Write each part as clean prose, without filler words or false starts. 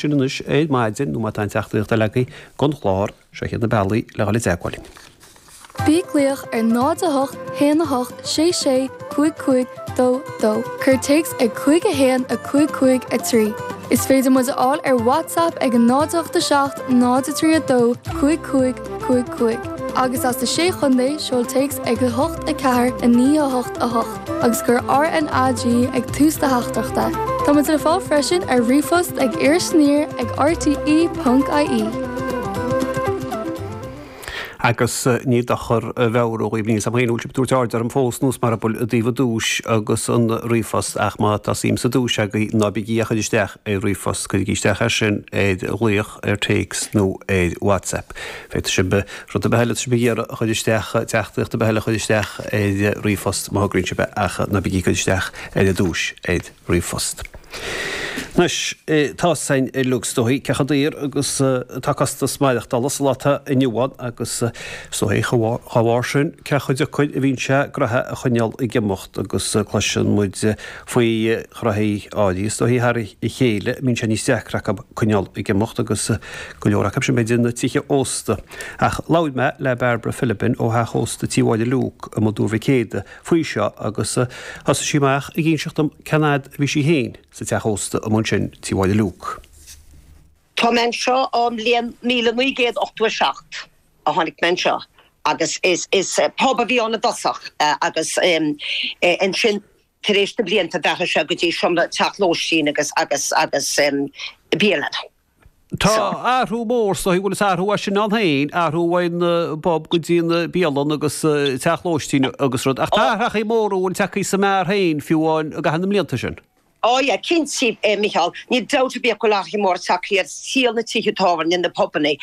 Sin anois ar maidin nó má tá aon teachtaireacht eile agaibh don chlár, seo iad na bealaí le dhul i dteagmháil linn. Bí ag glaoch ar 0 8 1 8 6 6 5 5 2 2. Cuir téacs ag 5 1 5 5 3. Is féidir muid a fháil ar WhatsApp ag 0 8 7 0 3 2 5 5 5 5. Agus as na Sé Chontae, seol téacs ag 8 4 9 8 8. agus cuir RnaG ag tús do theachtaireachta. Tá muid le fáil freisin ar ríomhphost ag irisaniar ag rte ponc ie. Agus ní dochar a mheabhrú dhaoibh, níl 's a'm féin an bhfuil sibh ag tabhairt aird orm fós nós mar bhuel i dtaobh an duais agus an ríomhphost ach má tá suim sa duais agaibh ná bígí á chur isteach ar ríomhphost, cuirigí isteach é sin ar ghlaoch, ar téacs nó ar WhatsApp. Féadfaidh sibh rud ar bith eile atá sibh ag iarraidh a chur isteach, teachtaireacht ar bith eile a chur isteach ar ríomhphost má thograíonn sibh é ach ná bígí ag cur isteach ar an duais ar ríomhphost. Anois, tá 's a'inn uilig is dóichí cé chomh daor agus atá costas maireachtála sa lá atá inniu ann agus is dóichí dá bharr sin cé chomh deacair a bhíonn sé gnoithe a choinneáil ag imeacht agus cloiseann muid faoi ghnoithí áirithe is dóichí thar a chéile a mbíonn sé níos deacra acu coinneáil ag imeacht agus go leor acu sin b'fhéidir na tithe ósta. Ach labhair mé le Bairbre Philibin ó theach ósta Tí Mháire Luke i mBun Mhic Éadaigh faoi seo agus thosaigh sí amach ag inseacht dom cén fhad a bhí sí féin sa teach ósta amuigh ansin, Tí Mháire Luke. Tá mé anseo ón mbliain 1987 a tháinig mé anseo agus is pub a bhí ann i dtosach agus ansin Tar éis na blianta d'athraigh sé go dtí seomra teach lóistín agus agus agus bialann. Tá athrú mór is dóigh, bhuel is athrú é sin ann féin, athrú ón bpub go dtí an bialann agus teach lóistín agus rud, ach tá athrachaí móra a bhfuil tagtha sa mbeár féin fiú amháin i gcaitheamh na mblianta sin. Ó yeah, cinnte, a Mhicheál, níl dabht ar bith go bhfuil athruithe móra tagtha ar saol na tithe tábhairne, na pubanna.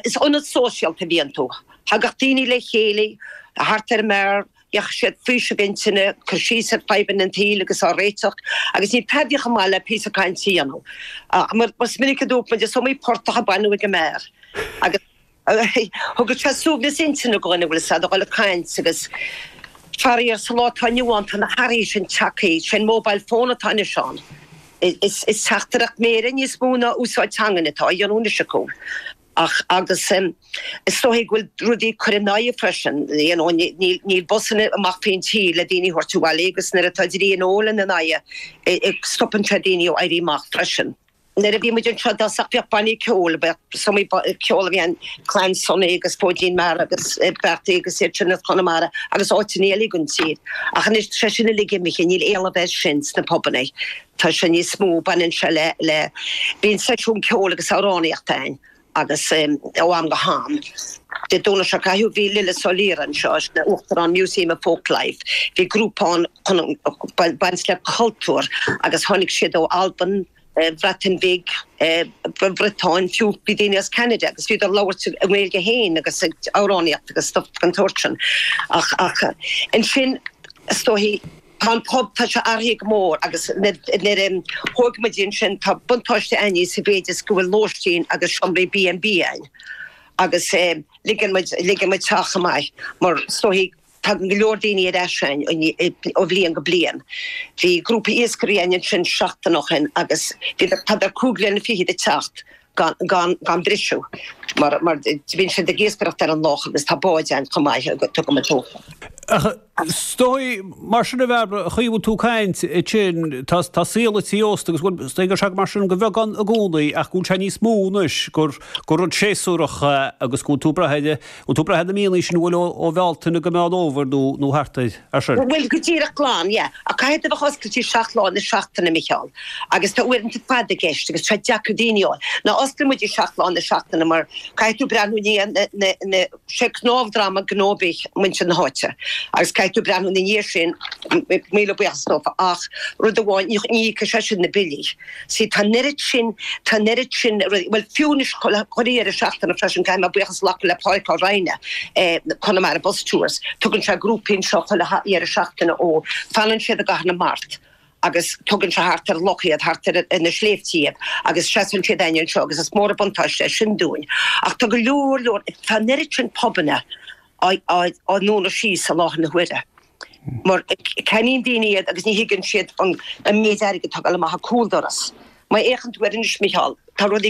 Is ionad sóisialta a bhí iontu. Thagadh daoine le chéile thart ar an mbeár, Gheobhadh siad faoiseamh intinne, cur síos ar fadhbanna an tsaoil agus á réiteach, agus níl tada chomh maith le píosa cainte a dhéanamh. Mar is minic a dúirt muid, is iomaí portach a baineadh ag an mbeár. Agus thugadh sé suaimhneas intinne do dhuine, bhfuil 'fhios a'd, a dhul ag caint agus faraor sa lá atá inniu ann tá na hathruithe sin tagtha, sé'n mobile phone atá anois ann. Is teachtaireacht méire níos mó ná úsáid teangan atá á dhéanamh anois acu. Ach, agus is dóichí go bhfuil rudaí ag cur ina aghaidh freisin, you know, níl busanna amach faoin tír le daoine a thabhairt abhaile agus nuair atá dlí an óil ina n-aghaidh, stopann sé daoine ó éirí amach freisin. Nuair a bhí muid anseo i dtosach bhíodh bannaí ceoil, bheadh is iomaí ceol a bhí ann, Clann Sonny agus Fóidín Mara agus Beartaí agus iad sin as Conamara agus áiteanna eile den tír. Ach anois tá sé sin uilig imithe, níl éileamh air sin sna pubanna. Tá sé níos mó, baineann sé le, le, bíonn seisiún ceoil agus amhránaíochta ann agus ó am go ham. Dé Domhnaigh seo caite bhí Lillis Ó Laoire anseo, sin é Uachtarán Museum of Folklife. Bhí grúpa ann chun baint le cultúr agus tháinig siad ó Albain, Bhreatain Bhig, Bhriotáin, fiú bhí daoine as Ceanada agus bhíodar ag labhairt i nGaeilge féin agus ag amhránaíocht agus stuff den tsórt sin. Ach, ach ansin is dóichí, Tá an pub, tá sé athraithe go mór agus nuair a thóg muid ansin tá buntáiste a'inne sa mhéid is go bhfuil lóistín agus seomraí B and B a'inn agus ligeann muid, ligeann muid teach chomh maith mar is dóichí tagann go leor daoine ar ais a'inn ó bhliain go bliain. Bhí grúpa iascairí a'inn ansin seachtain ó shin agus bhíodar, tádar cúig bliana fichead ag teacht gan, gan, gan briseadh mar, mar bíonn siad ag iascaireacht ar an loch agus tá báid a'inn chomh maith a dtugann muid dófa. Ach is dóigh, mar sin a Bhairbre, an chaoi a bhfuil tú ag caint ansin, tá, tá saol an tí ósta agus bhuel, is dóigh go raibh sé mar sin de bheagán i gcónaí ach go bhfuil sé níos mó anois gur, gur rud séasúrach é agus go bhfuil tú ag brath ar, bhfuil tú ag brath ar na míonna sin bhuel ó, ó Bhealtaine go Meán Fhómhair nó, nó thart air, ar sin. Bhuel, go díreach glan, yeah. Ach caithfidh tú a bheith oscailte seacht lá na seachtaine, a Mhicheáil, agus tá uaireanta fada i gceist agus tá sé deacair daoine a fháil. Ná osclaíonn muid seacht lá na seachtaine mar caithfidh tú breathnú i ndiaidh na, na, na, sé cnámh droma gnó ar bith muintir na háite agus caithfidh tú breathnú ina dhiaidh sin, míle buíochas dófa, ach rud amháin, ní íocfaidh sé sin na billí. See, tá an oiread sin, tá an oiread sin rudaí, bhuel fiú anois chuile dheireadh seachtaine freisin, caithfidh mé buíochas a ghlacadh le Pádraic Ó Raghallaigh, Connemara Bus Tours, tugann sé grúpaí anseo chuile dheireadh seachtaine ó, fanann siad i gCathair na Mart agus tugann sé thart ar loch iad, thart ar na sléibhte iad agus seasann siad a'inn anseo agus is mór an buntáiste é sin dúinn. Ach tá go leor, leor, tá an oiread sin pubanna á ndúnadh síos i láthair na huaire mar ceannaíonn daoine iad agus ní thuigeann siad an méid airgid atá ag dul amach an cúldoras. Má fhéachann tú air anois, Micheál. Tá rudaí.